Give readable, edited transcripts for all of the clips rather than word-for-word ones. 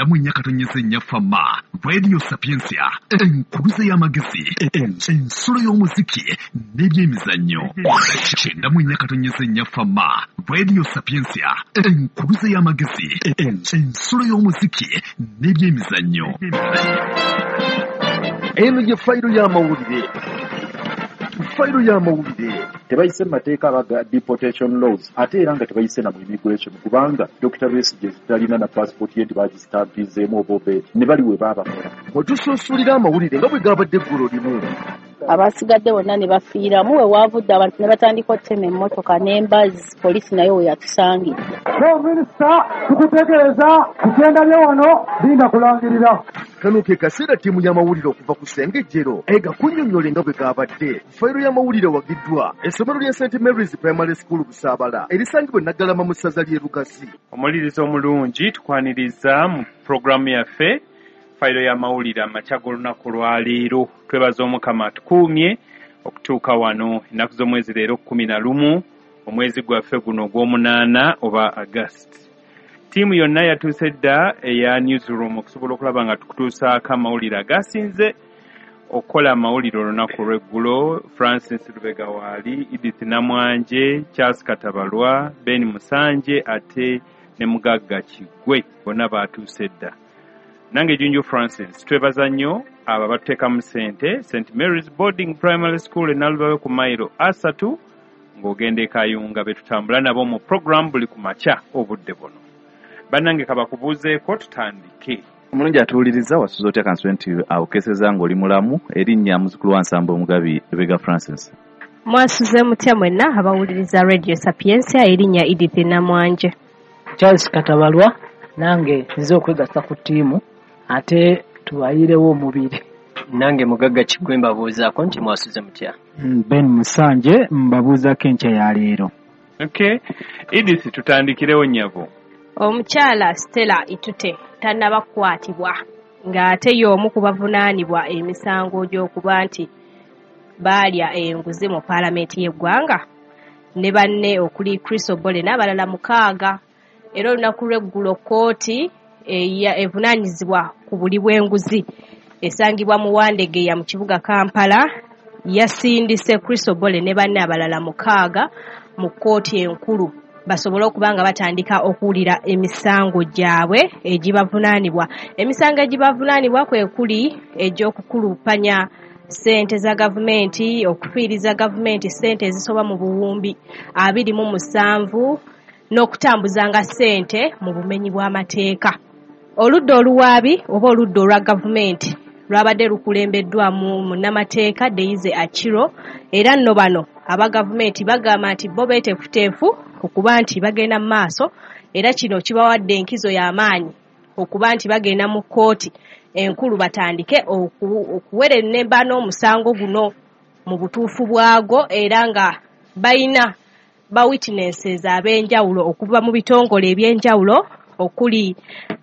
94.4 Fama Radio Sapientia, enkubuza y'amagezi, ensulo y'omuziki n'ebyemizannyo. 94.4 Fama Radio Sapientia, enkubuza y'amagezi, ensulo y'omuziki n'ebyemizannyo. Eno ye fayiro y'amawulire. Fayiro y'amawulire. Tebayise mu mateeka abaga deportation laws, ate era nga tebayise na mu immigration, kubanga Dr. Besigye talina na passport ye, ntibagistampizeemu oba obeeti ne bali we baabakola. Wetusunsulira amawulire nga bwe gabadde eggulo limu. Abasigadde bonna ne bafiiramu. We waavudde abantu ne batandika okutema emmotoka n'embazi, poliisi nayo we yatusangidde. Minisita, tukutegeeza kugenda bye wano linda kulangirira. Kano ke kaseera ttiimu y'amawulire okuva ku Ssengejjero egakunnyonnyole nga bwe gabadde. Fayiro y'amawulire wagiddwa essomero lya St Mary's Primary School Busaabala erisangibwa e Naggalama mu ssaza ly'e Lugazi. Omuliriza omulungi, tukwaniriza mu pulogulaamu yaffe fayiro y'amawulire amakya g'olunaku lwaleero. Twebaza Omukama atukuumye okutuuka wano. Ennaku z'omwezi leero 11 omwezi gwaffe guno ogw'omunaana oba August. Ttiimu yonna yatuuse dda eya newsroom okusobola okulaba nga tukutuusaako amawulire agasinze okukola amawulire olunaku lw'eggulo. Francis Lubega waali, Edith Namwanje, Charles Katabalwa, Ben Musanje ate ne Mugagga Kiggwe, bonna baatuuse dda. Nange Junju Francis, twebaza nnyo abo abatuteekamu ssente. St Mary's Boarding Primary School e Nalubawe ku mayiro 3 ng'ogenda e Kayunga, be tutambula nabo mu program buli ku makya obudde buno. Bannange, kabakubuuzeeko tutandike. Omulungi atuwuliriza, wasuza otya? Kansube nti awokeseza ng'oli mulamu. Erinnya muzukulu wa Nsambo Omugabi Lubega Francis. Mwasuze mutya mwenna abawuliriza Radio Sapientia? Erinnya Edith Namwanje. Charles Katabalwa, nange nze okwegatta ku ttiimu ate tubayirewo omubiri. Nange Mugagga Kiggwe, mbabuuzaako nti mwasuze mutya? Ben Musanje, mbabuuzaako enkya ya leero. Okay, Edith, tutandikirewo nnyabo. Omukyala Stella Itute tannaba kukwatibwa ng'ate y'omu ku bavunaanibwa emisango gy'okuba nti baalya enguzi mu paalamenti y'eggwanga ne banne okuli Chris Obole n'abalala 6. Era olunaku lw'eggulo kkooti evunaanyizibwa ku buli bw'enguzi esangibwa mu Wandegeya mu kibuga Kampala yasindise Chris Obole ne banne abalala 6 mu kkooti enkulu basobole okuba nga batandika okuwulira emisango gyabwe egibavunaanibwa. Emisango egibavunaanibwa kwe kuli egy'okukulupanya ssente za gavumenti, okufiiriza gavumenti ssente ezisoba mu buwumbi 27 n'okutambuzanga ssente mu bumenyi bw'amateeka. Oludda oluwaabi oba oludda olwa gavumenti lwabadde lukulembeddwamu munnamateeka Deize Achiro, era nno bano aba gavumenti bagamba nti bo beeteefuteefu okuba nti bagenda mu maaso, era kino kibawadde enkizo y'amaanyi okuba nti bagenda mu kkooti enkulu batandike okuwerennemba n'omusango guno mu butuufu bwagwo, era nga balina ba witnesses ab'enjawulo okuva mu bitongole eby'enjawulo okuli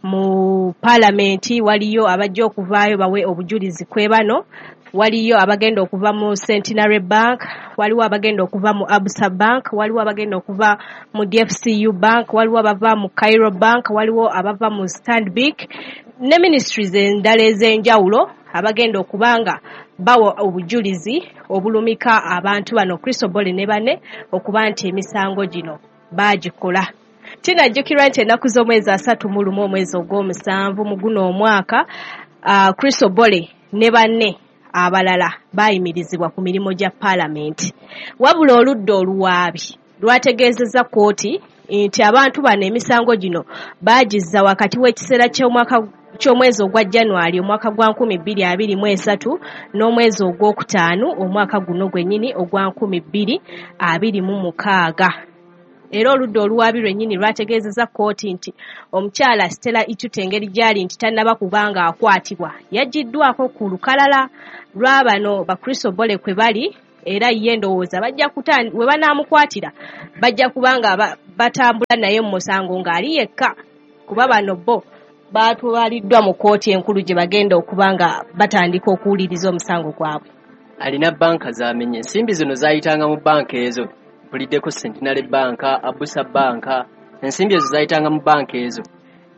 mu paalamenti. Waliyo abajja okuvaayo bawe obujulizi kwe bano, waliyo abagenda okuva mu Centenary Bank, waliwo abagenda okuva mu Absa Bank, waliwo abagenda okuva mu DFCU Bank, waliwo abava mu Cairo Bank, waliwo abava mu Stanbic ne ministries endala ez'enjawulo abagenda okubanga bawa obujulizi obulumika abantu bano Chris Obole ne banne okuba nti emisango gino baagikola. Kinajjukirwa nti ennaku z'omwezi 31 omwezi ogw'omusanvu mu guno omwaka, Chris Obole ne banne abalala baayimirizibwa ku mirimu gya paalamenti. Wabula oludda oluwaabi lwategeezezza kkooti nti abantu bano emisango gino baagizza wakati w'ekiseera ky'omwezi ogwa January omwaka gwa 2023 n'omwezi ogwokutaano omwaka guno gwennyini ogwa 2026. Era oludda oluwaabi lwennyini lwategeezezza kkooti nti omukyala Stella Itute engeri gy'ali nti tannaba kubanga akwatibwa, yaggyiddwako ku lukalala lwa bano ba Chris Obole kwe bali, era ye ndowooza bajja we banaamukwatira bajja kubanga batambula naye mu musango ng'ali yekka, kuba bano bo baatwaliddwa mu kkooti enkulu gye bagenda okuba nga batandika okuwuliriza omusango gwabwe. Alina banka z'amenye, ensimbi zino zaayitanga mu banka ezo. Mpuliddeko Centenary Bank, Abusa Bank, ensimbi ezo zayitanga mu banka ezo.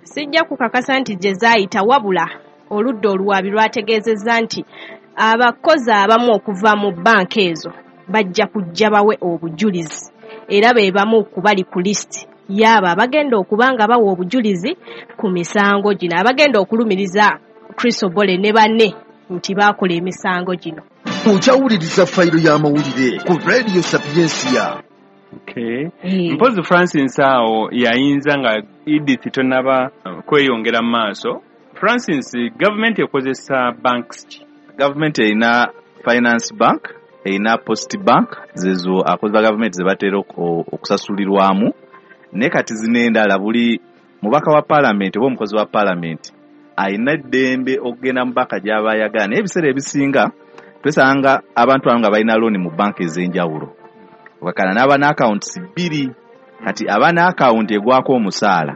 Sijja kukakasa nti gye zaayita, wabula oludda oluwaabi lwategeezezza nti abakozi abamu okuva mu bbanka ezo bajja kujja bawe obujulizi era be bamu ku bali ku lisiti y'abo abagenda okuba nga bawa obujulizi ku misango gino, abagenda okulumiriza Chris Obore ne banne nti baakola emisango gino. Okyawuliriza fayiro y'amawulire ku Radio Sapientia. Okay. Mpozi Francis awo yayinza nga Edith tonaba kweyongera mu maaso. Francis, gavumenti ekozesa banks ki? Gavumenti erina Finance Bank, erina Post Bank, zezo akozi ba gavumenti ze batera okusasulirwamu. Naye kati zino endala buli mubaka wa paalamenti oba omukozi wa paalamenti alina eddembe okugenda mu banka gy'aba ayagala, naye ebiseera ebisinga twesanga abantu abo nga balina looni mu banka ez'enjawulo. Wakana n'aba n'accounts bbiri, kati aba n'account egwako omusaala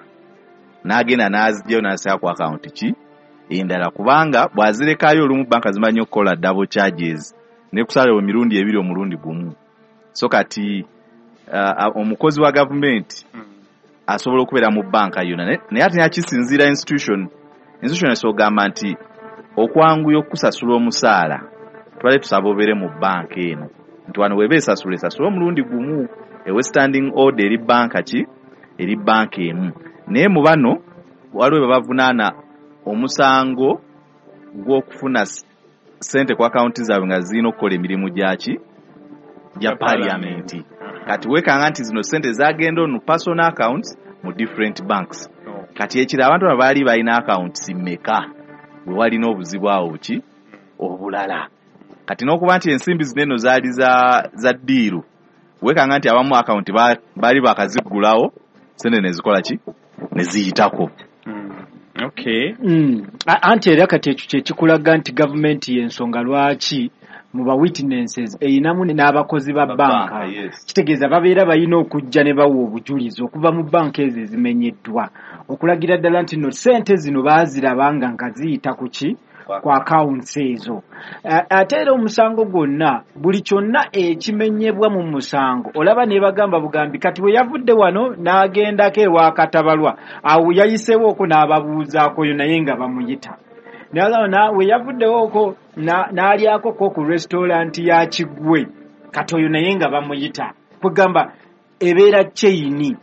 n'agenda n'azigyayo n'asaba ku account ki endala, kubanga bw'azirekayo olumu banka zimanyi okukola double charges nekusala emirundi ebiri omulundi gumu. So kati omukozi wa gavumenti asobola okubeera mu banka yonna, naye ate nakisinziira institution esobola okugamba nti okwanguya okusasula omusaala tubadde tusaba obeere mu banka eno, nti wano weba esasula esasula omulundi gumu, ewe standing order eri banka ki eri banka emu. Naye mu bano waliwo babavunaana omusango gw'okufuna ssente ku akawunti zaabwe nga zirina okukola emirimu gyaki gya parliament. Kati weekanga nti zino ssente zagenda on personal accounts mu different banks. Kati ekiro abantu abo baali balina accounts mmeka bwe walina obuzibu awo buki obulala. Kati n'okuba nti ensimbi zino eno zaali za ddiiru, weekanga nti abamu akawunti baali bakaziggulawo ssente ne zikola ki ne ziyitako. Okay. Anti era kati ekyo kye kikulaga nti gavumenti y'ensonga lwaki mu ba witnesses erinamu n'abakozi ba banka. Kitegeeza babeera balina okujja ne bawa obujulizi okuva mu banka ezo ezimenyeddwa okulagira ddala nti no ssente zino baazirabanga nga ziyita ku ki ku accounts ezo. Ate era omusango gwonna buli kyonna ekimenyebwa mu musango olaba ne bagamba bugambi kati we yavudde wano n'agendako ewa Katabalwa, awo yayiseewooko n'ababuuzaako yo naye nga bamuyita. We yavuddewooko n'alyako ko ku restaurant ya Kigwe, kati oyo naye nga bamuyita. Kwegamba ebeera chain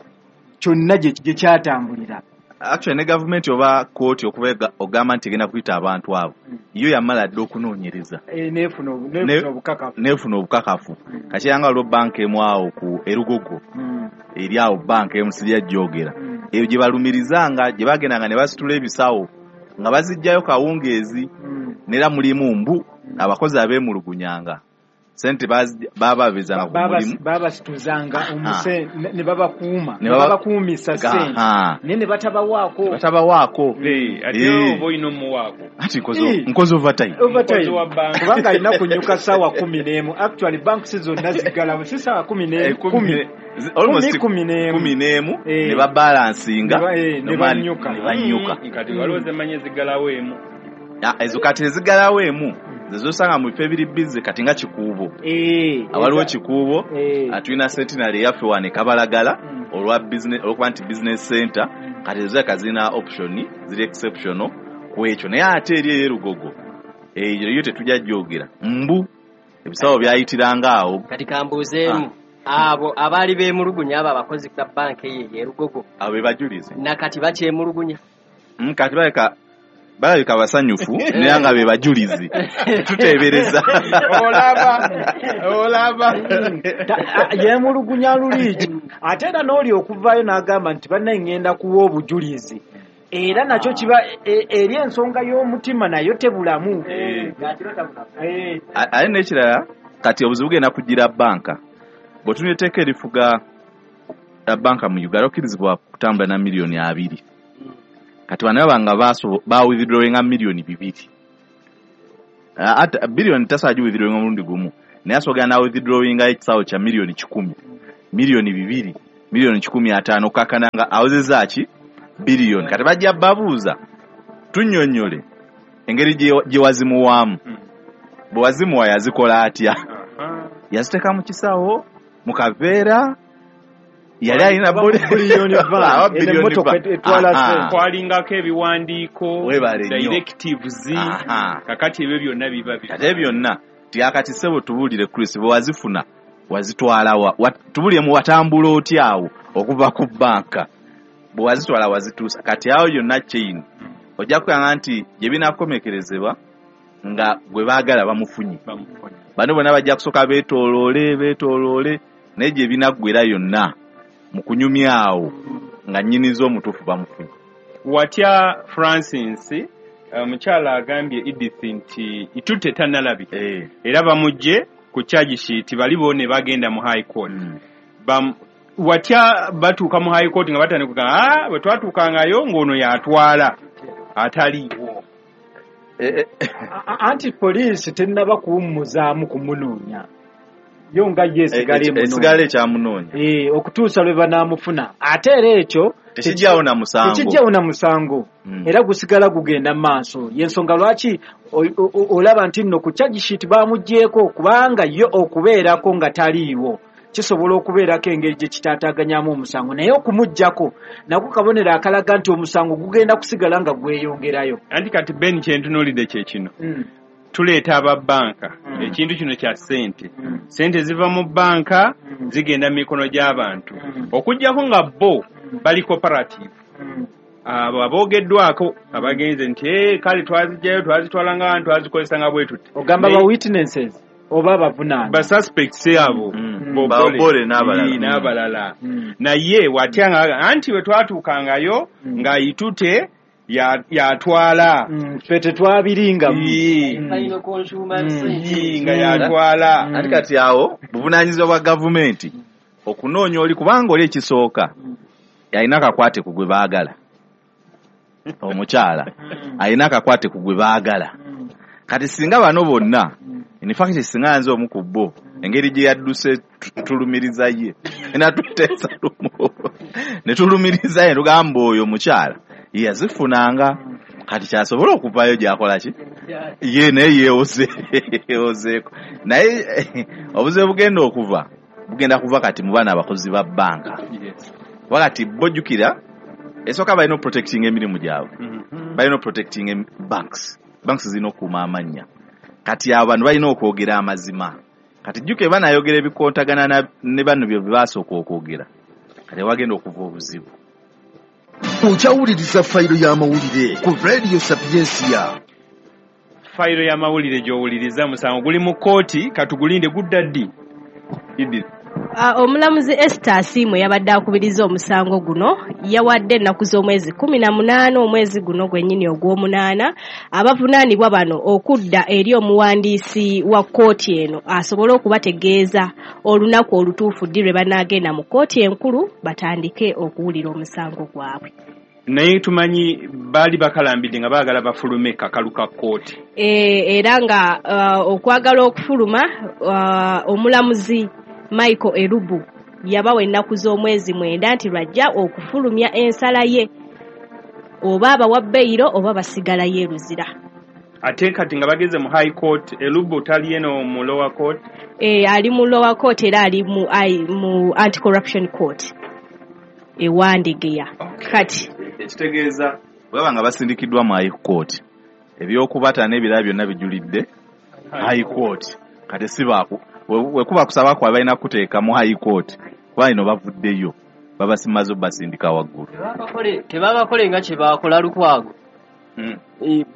kyonna gye kyatambulira. Actually ne gavumenti oba kooti okuba ogamba nti egenda kuyita abantu abo, yo yamala dda okunoonyereza neefuna obukakafu. Kati yanga waliwo banka emu awo ku Erugogo eri awo banka emu sijja gyogera, eyo gye balumirizanga gye bagendanga ne basitula ebisawo nga baziggyayo kawungeezi, n'era mulimu mbu abakozi abeemulugunyanga sente baababezanga ku mulimu, babasituzanga ne babakuuma, ne babakuumisa sente naye ne batabawaako. Ate oba olina omuwaako. Ati nkoze overtime, kubanga alina kunyuka ssaawa 11. Actually banks zonna ziggalawo si ssaawa 11, 11 ne babalansinga ne banyuka. Kati waliwo zemanyi eziggalawo emu, ezo kati eziggalawo emu zezosanga mu bifo ebiri bize kati nga Kikuubo. Awaliwo Kikuubo tulina Centenary eyaffe wano e Kabalagala olwa business, olwokuba nti business center, kati ezo zirabika zirina option ziri exceptional ku ekyo. Naye ate eri ey'Erugogo eyo yo tetujja gyogera, mbu ebisawo byayitiranga awo. Kati kambuuzeemu abo abaali beemulugunya abo abakozi ba banka eyo ey'Erugogo abo be bajulizi nakati bakyemulugunya? Kati balabika basanyufu naye nga be bajulizi tuteebereza. Olaba yemulugunya luli ate era n'oli okuvaayo n'agamba nti bannaye ŋŋenda kuwa obujulizi, era nakyo kiba eri ensonga y'omutima nayo tebulamu. Ate n'ekirala kati obuzibu bugenda kugira banka bw'otunula etteeka erifuga banka mu Uganda okkirizibwa kutambula na miliyoni 2. Kati bano baba nga bawithdrawinga miliyoni 2. Ate biliyoni tasobola giwithdrawinga omulundi gumu, naye asobola n'awithdrawinga ekisawo kya miliyoni 100, miliyoni 2, miliyoni 150, okukkakkana nga awezezza ki biliyoni. Kati bajja babuuza tunnyonnyole engeri gye wazimuwaamu. Bwe wazimuwa yazikola atya? Yaziteeka mu kisawo, mu kaveera, Yali alina kwalingako ebiwandiiko, directives, kakati ebyo byonna biba ate byonna ti akati ssebo tubuulire Chris, bwe wazifuna wazitwalawa? Tubuulire mu watambula otya awo okuva ku banka, bwe wazitwala wazituusa? Kati awo yonna chain ojja kukanga nti gye binaakomekerezebwa nga gwe baagala bamufunye. Bano bonna bajja kusooka beetooloole beetooloole, naye gye binaggwera yonna mu kunyumya awo nga nnyiniza omutuufu bamufunye. Watya Francis, omukyala agambye Edith nti Itute tannalabika era bamugje ku charge sheet, bali bo ne bagenda mu high court. Watya batuuka mu high court nga batandika kugamba, bwe twatuukangayo ng'ono yatwala ataliiwo. Anti poliisi tennaba kuwummuzaamu kumunoonya, yo nga ye esigala esigala ekyamunoonya okutuusa lwe banaamufuna. Ate era ekyo tekijjawo na musango, tekijjawo na musango, era gusigala gugenda maaso. Yensonga lwaki olaba nti nno ku charge sheet bamuggyeeko, kubanga yo okubeerako nga taliiwo kisobola okubeerako engeri gye kitaataaganyamu omusango, naye okumuggyako nako kabonero akalaga nti omusango gugenda kusigala nga gweyongerayo. Anti kati Ben, kyentunuulidde kye kino, tuleeta ababbanka, ekintu kino kya ssente, ssente ziva mu bbanka zigenda mu mikono gy'abantu, okuggyako nga bo bali cooperative, abo aboogeddwako abagenze nti kale twazijjayo twazitwala nga twazikozesa nga bwe tuti. Ogamba ba witnesses oba abavunaana? Ba suspects abo, Bobole n'abalala. Naye watya nga anti bwe twatuukangayo nga Itute yatwala, ffe tetwabiringamu nga yatwala. Anti kati awo buvunaanyizibwa bwa gavumenti okunoonya oli, kubanga oli ekisooka alina akakwate ku gwe baagala, omukyala alina akakwate ku gwe baagala. Kati singa bano bonna, in fact singa nze omu ku bo, engeri gye yadduse tulumiriza ye natuteesa lumu ne tulumiriza ye, tugamba oyo omukyala yazifunanga, kati kyasobola okuvayo gyakola ki ye naye yeewozeeko. Naye obuzibu bugenda okuva bugenda kuva kati mu baana abakozi ba banka, kuba kati bojjukira esooka balina oprotecting emirimu gyabwe, balina oprotecting banks, banks zirina okukuuma amannya. Kati abo bano balina okwogera amazima. Kati jjukira banayogera ebikontagana ne bano bye basooka okwogera, kati wagenda okuva obuzibu. Okyawuliriza Fayiro y'Amawulire ku Radio Sapiensia. Fayiro y'Amawulire gy'owuliriza. Musango guli mu kkooti, katugulinde gudda ddi, Edith? Omulamuzi Esther Asiimwe yabadde akubiriza omusango guno, yawadde ennaku z'omwezi 18 omwezi guno gwennyini ogw'omunaana abavunaanibwa bano okudda eri omuwandiisi wa kkooti eno asobole okubategeeza olunaku olutuufu ddi lwe banaagenda mu kkooti enkulu batandike okuwulira omusango gwabwe. Naye tumanyi baali bakalambidde nga baagala bafulume kakalu ka kkooti. Era nga okwagala okufuluma, omulamuzi Michael Erubu yabawa ennaku z'omwezi 9 nti lwajja okufulumya ensala ye, oba abawa beyiro oba basigalayo e Luzira. Ate kati nga bageze mu high court, Elubu tali eno mu lower court? Ali mu lower court, era ali mu anti-corruption court e Wandegeya. Kati ekitegeeza bwaba nga basindikiddwa mu high court, ebyokubata n'ebirala byonna bijulidde high court. Kati si baaku wekuba kusaba kwa balina kuteeka mu high court, kuba ino bavuddeyo babasimaze basindika waggulu. Tebabakole nga kye baakola Lukwago,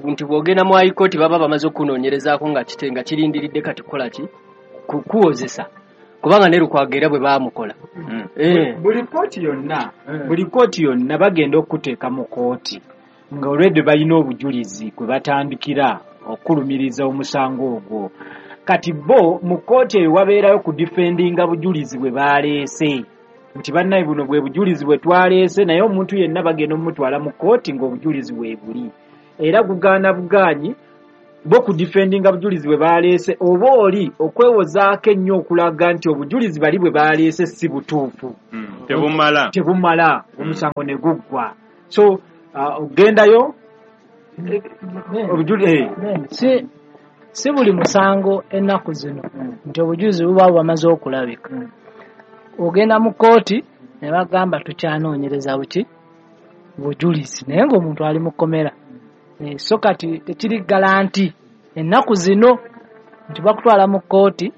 nti bw'ogenda mu high court baba bamaze okunoonyerezaako nga kitenga kirindiridde kati kukola ki, kuwozesa, kubanga ne Lukwago era bwe baamukola. Buli kooti yonna bagenda okuteeka mu kooti nga olwedde balina obujulizi kwe batandikira okulumiriza omusango ogwo. Kati bo mu kkooti eyo wabeerayo kudifendinga bujulizi bwe baleese, nti bannaye buno bwe bujulizi bwe twaleese, naye omuntu yenna bagenda omutwala mu kkooti ng'obujulizi bwe buli, era gugaana bugaanyi bo kudifendinga bujulizi bwe baleese, oba oli okwewozaako ennyo okulaga nti obujulizi bali bwe baleese si butuufu, tebumala, omusango ne guggwa. So ogendayo obujulizi si buli musango ennaku zino nti obujulizi buba bwamaze okulabika. Ogenda mu kkooti Ne bagamba tukyanoonyereza buki bujulizi, naye ng'omuntu ali mu kkomera. So kati tekiri galanti ennaku zino nti bakutwala mu kkooti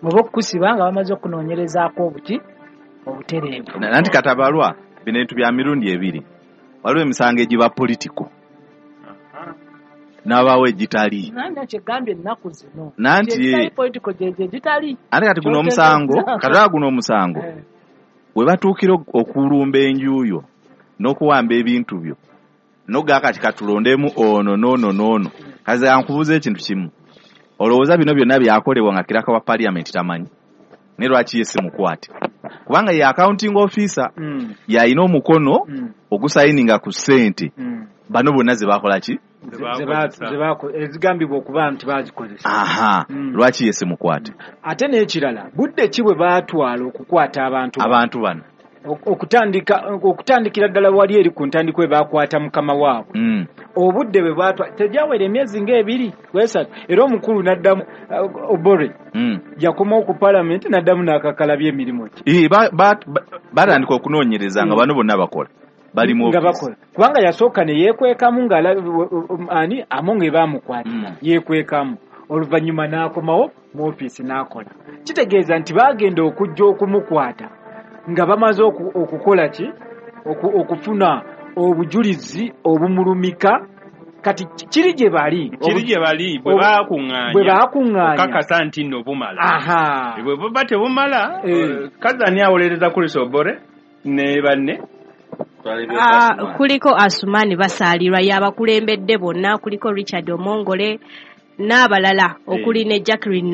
oba okukusiba nga bamaze okunoonyerezaako obuki obutereevu. Nanti Katabalwa, bino ebintu bya mirundi ebiri. Waliwo emisango egiba political n'abaawo egitali. Nanti kyegambye ennaku zino Nanti egitali political gyegyo egitali. Ate kati guno omusango, katala guno omusango we batuukira okulumba enju yo n'okuwamba ebintu byo n'ogaa kati katulondemu ono n'ono n'ono. Kaze ankubuuza ekintu kimu, olowooza bino byonna byakolebwa nga kiraka wa parliament tamanyi? Ne lwaki ye si mukwate? Kubanga ye accounting officer, yalina omukono ogusayininga ku ssente bano bonna ze bakola ki? Ezigambibwa okuba nti bazikozesa. Aha, lwaki ye si mukwate? Ate n'ekirala, budde ki bwe baatwala okukwata abantu abantu bano? Okutandikira ddala wali eri ku ntandikwa we baakwata mukama waabwe. Obudde bwe baatwala tegyawera emyezi ng'ebiri esatu, era omukulu n'addamu Obore yakomawo ku paalamenti n'addamu n'akakalabya emirimu gye. Batandika okunoonyereza nga bano bonna bakola bali mu nga bakola, kubanga yasooka ne yeekwekamu nga ani Amonge baamukwata yeekwekamu, oluvannyuma n'akomawo mu ofiisi n'akola. Kitegeeza nti baagenda okujja okumukwata nga bamaze okukola ki, okufuna obujulizi obumulumika. Kati kiri gye bali, kiri gye bali bwe baakuŋŋaanya okakasa nti nno bumala. Bwe buba tebumala, kazi ani awolereza Chris Obore ne banne? Kuliko Asumani Basaalirwa y'abakulembedde bonna, kuliko Richard Omongole n'abalala, okuli ne Jacqueline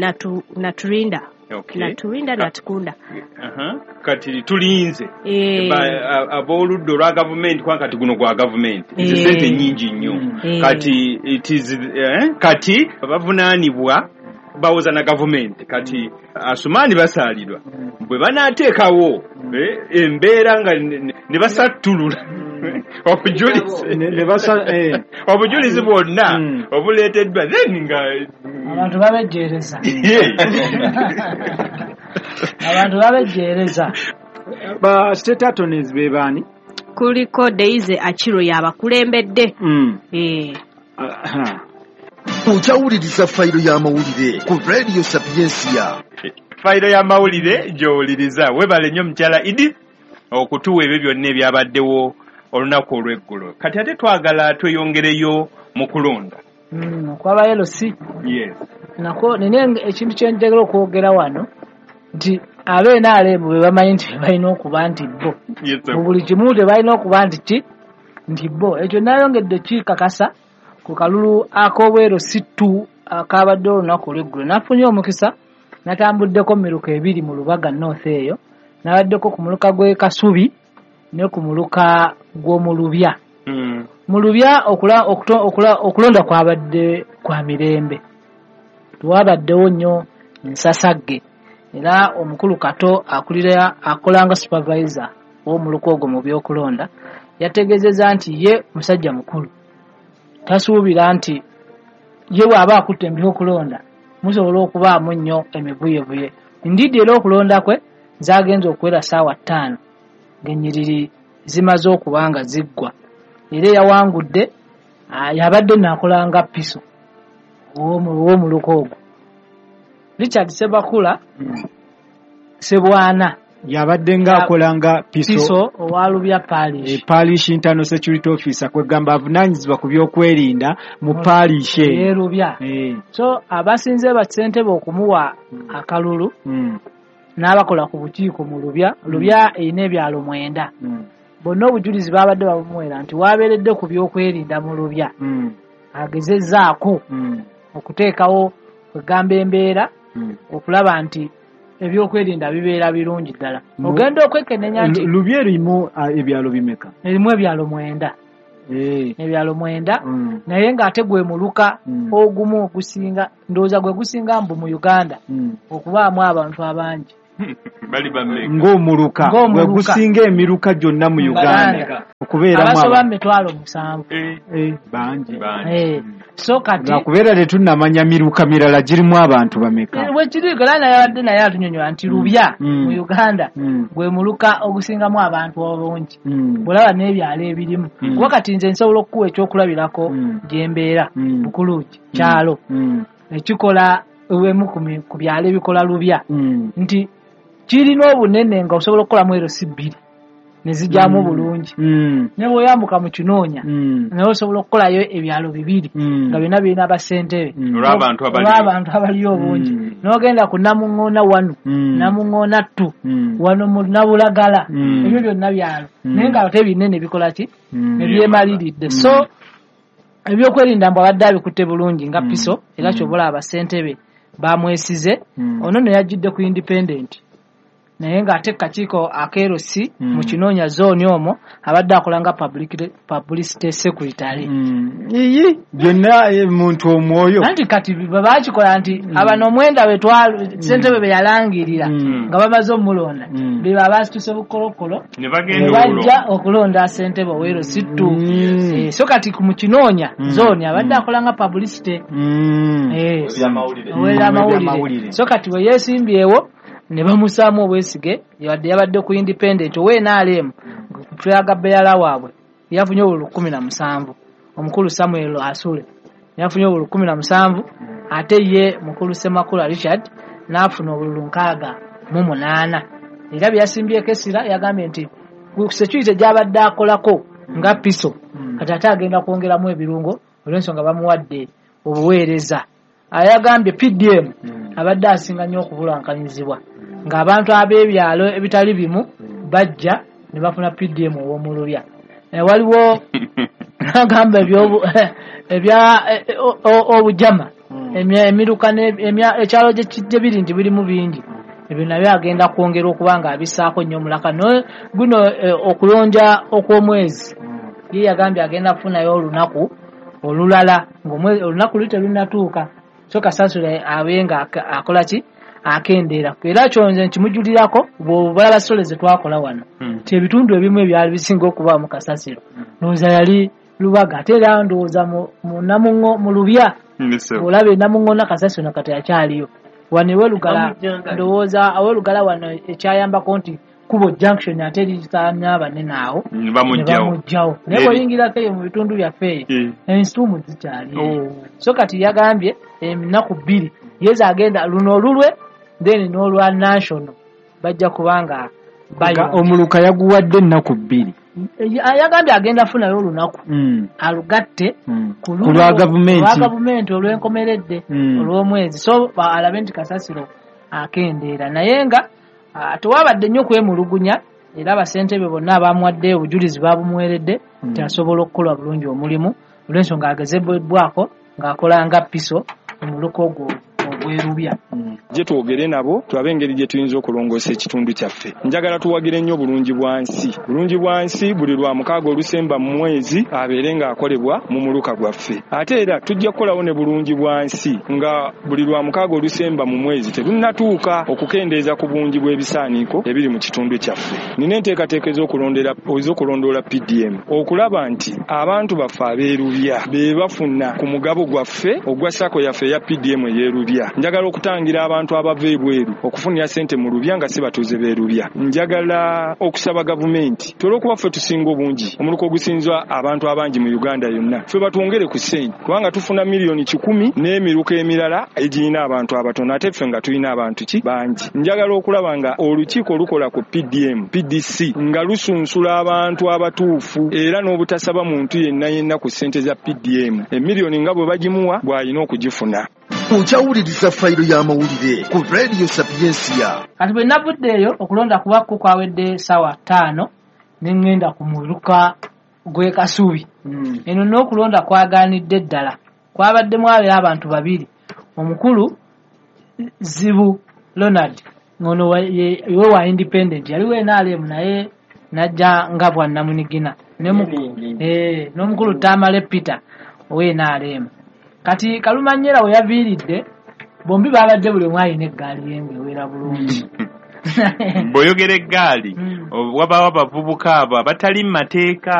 Naturinda. Naturinda Natukunda. Kati tulinze ab'oludda olwa gavumenti, kubanga kati guno gwa gavumenti, ezo ssente nnyingi nnyo. Kati it is kati bavunaanibwa bawoza na gavumenti. Kati Asumani Basaalirwa bwe banaateekawo embeera nga ne basattulula obujulizi bwonna obuleeteddwa, then nga abantu babejjeereza. Abantu babejjeereza. Ba state attorneys be baani? Kuliko Daisy Achiro y'abakulembedde. Okyawuliriza fayiro y'amawulire ku Radio Sapiensia. Fayiro y'amawulire gy'owuliriza. Weebale nnyo mukyala Edith okutuwa ebyo byonna ebyabaddewo olunaku olw'eggulo. Kati ate twagala tweyongereyo mu kulonda okwaba LC. Yes. Nako nina ekintu kye njagala okwogera wano nti ab'NRM bwe bamanyi nti balina okuba nti bo mu buli kimu tebalina okuba nti ki nti bo. Ekyo nayongedde kikakasa ku kalulu ak'obweru C2 akabadde olunaku olw'eggulo. Nafunye omukisa natambuddeko miruka ebiri mu Lubaga North eyo, nabaddeko ku muluka gw'e Kasubi ne ku muluka gw'omu Lubya. Mu Lubya okulonda kwabadde kwa mirembe, tewabaddewo nnyo nsasagge, era omukulu Kato akulira akolanga supervisor w'omuluka ogwo mu by'okulonda yategeezezza nti ye musajja mukulu, tasuubira nti ye bw'aba akutte mu by'okulonda musobola okubaamu nnyo emivuyevuye. Ndidi era okulonda kwe zagenze okuwera ssaawa 5 ng'ennyiriri zimaze okuba nga ziggwa, era eyawangudde yabadde naakolanga piso ow'omuluka ogwo Richard Sebakula Sebwana yabadde ng'akolanga piso owa Lubya Parish, Parish Internal Security Officer, kwegamba avunaanyizibwa ku by'okwerinda mu parish ey'e Lubya. So abasinze bassentebe okumuwa akalulu n'abakola ku bukiiko mu Lubya. Lubya erina ebyalo 9. Bonna obujulizi babadde babumuwera nti wabeeredde ku by'okwerinda mu Lubya, agezezzaako okuteekawo kwegamba embeera okulaba nti ebyokwerinda bibeera birungi ddala. Ogenda okwekenenya nti Lubya erimu ebyalo bimeka? Erimu ebyalo 9. Ebyalo 9, naye ng'ate gwe muluka ogumu ogusinga, ndowooza gwe gusinga mbu mu Uganda okubaamu abantu abangi. Bali bameka? Ng'omuluka gwe gusinga emiruka gyonna mu Uganda. Okubeeramu abasoba mu 7,000. Bangi. So kati lwakubeera tetunnamanya miruka mirala girimu abantu bameka. Bwekiri era naye abadde naye atunyonyola nti Lubya mu Uganda gwe muluka ogusingamu abantu obungi, bw'olaba n'ebyalo ebirimu. Kuba kati nze nsobola okukuwa ekyokulabirako gyembeera Bukulugi kyalo ekikola emu ku byalo ebikola Lubya, nti kirina obunene nga osobola okukolamu erosi 2 ne zijjamu bulungi. Ne bw'oyambuka mu Kinoonya naye osobola okukolayo ebyalo 2 nga byonna birina abasentebe olw'abantu abaliyo obungi. N'ogenda ku Namuŋŋoona 1, Namuŋŋoona 2, wano mu Nabulagala, ebyo byonna byalo naye nga ate binene bikola ki ne byemaliridde. So ebyokwerinda mbu abadde abikutte bulungi nga piso, era kyobola abasentebe bamwesize. Ono ne yajjidde ku independent, naye ng'ate kakiiko akeerosi mu Kinoonya zooni omwo abadde akola nga publicity secretary. Iyi byonna muntu omwoyo. Anti kati bwe baakikola nti abano 9 betwalo ssentebe be yalangirira nga bamaze omulonda, be baabasituse bukolokolo ne bagenda bajja okulonda ssentebe ow'erosi 2. So kati mu Kinoonya zooni abadde akola nga publicity ow'ebyamawulire. So kati bwe yeesimbyewo ne bamusaamu obwesige, yabadde yabadde ku independent owe NRM flag bearer waabwe yafunye obululu 17, omukulu Samuel Asule yafunye obululu 17, ate ye mukulu Ssemakula Richard n'afuna obululu 68. Era bye yasimbyeko essira yagambye nti ku security gy'abadde akolako nga piso kati ate agenda kwongeramu ebirungo olw'ensonga bamuwadde obuweereza. Ayagambye PDM abadde asinga nnyo okubulankanyizibwa ng'abantu ab'ebyalo ebitali bimu bajja ne bafuna PDM ow'omulubya. Waliwo n'agamba ebya obujama emiruka ekyalo gye biri nti birimu bingi, ebyo nabyo agenda kwongera okuba nga abissaako nnyo omulaka. Guno okulonja okw'omwezi ye yagambye agenda kufunayo olunaku olulala ng'olunaku luli terunnatuuka, so kasasula abe nga akola ki akendeera. Era kyonze nkimujulirako bw'obalaba sole ze twakola wano nti ebitundu ebimu ebyali bisinga okubaamu kasasiro ndowooza yali Lubaga, ate era ndowooza mu Lubya olaba Namuŋŋoona kasasiro nakati akyaliyo. Wano ew'Olugala ndowooza aw'Olugala wano ekyayambako nti Kubo junction ate lirisaanya abanene awo ne bamugjawo, naye bw'oyingirako eyo mu bitundu byaffe eyo ensuumu zikyaliyo. So kati yagambye ennaku 2 yeza agenda luno olulwe then n'olwa national bajja kubanga omuluka yaguwadde ennaku 2. Yagambye agenda afunayo olunaku alugatte ku lwa gavumenti olw'enkomeredde olw'omwezi, so alabe nti kasasiro akendeera. Naye nga tewabadde nnyo kwemulugunya, era abasentebe bonna abamuwadde obujulizi babumuweredde nti asobola okukola bulungi omulimu olw'ensonga agezebwako ng'akola nga piso omuluka ogwo ogw'Erubya. Gye twogere nabo tulabe engeri gye tuyinza okulongoosa ekitundu kyaffe. Njagala tuwagire nnyo bulungi bwa nsi. Bulungi bwa nsi buli lwa mukaaga olusemba mu mwezi abeere ng'akolebwa mu muluka gwaffe. Ate era tujja kukolawo ne bulungi bwa nsi nga buli lwa mukaaga olusemba mu mwezi terunnatuuka okukendeeza ku bungi bw'ebisaaniiko ebiri mu kitundu kyaffe. Nina enteekateeka ez'okulondoola PDM okulaba nti abantu baffe ab'Erubya be bafuna ku mugabo gwaffe ogwa SACCO yaffe eya PDM ey'Erubya. Njagala okutangira abantu abava ebweru okufunira ssente mu Lubya nga si batuuze b'Erubya. Njagala okusaba gavumenti olw'okuba ffe tusinga obungi, omuluka ogusinza abantu abangi mu Uganda yonna, ffe batwongere ku ssente kubanga tufuna 100,000,000 n'emiruka emirala egirina abantu abatono ate ffe nga tulina abantu ki bangi. Njagala okulaba nga olukiiko olukola ku PDM, PDC nga lusunsula abantu abatuufu era n'obutasaba muntu yenna yenna ku ssente za PDM. 1,000,000 nga bwe bagimuwa bw'alina okugifuna. Okyawuliriza fayiro y'amawulire ku Radio Sapiensia. Kati bwe navudde eyo okulonda kubakko kwawedde ssaawa 5 ne ŋŋenda ku muluka gw'e Kasubi. Eno n'okulonda kwagaanidde ddala, kwabaddemu abeera abantu 2, omukulu Zibu Leonard ng'ono ye wa independent, yaliwo NRM naye n'ajja nga bwannamunigina, n'omukulu Tamale Peter owe NRM. Kati Kalumanyera we yaviiridde bombi babadde buli omu alina eggaali ye ng'ewera bulungi. Bw'oyogera eggaali wabaawo abavubuka abo abatali mu mateeka.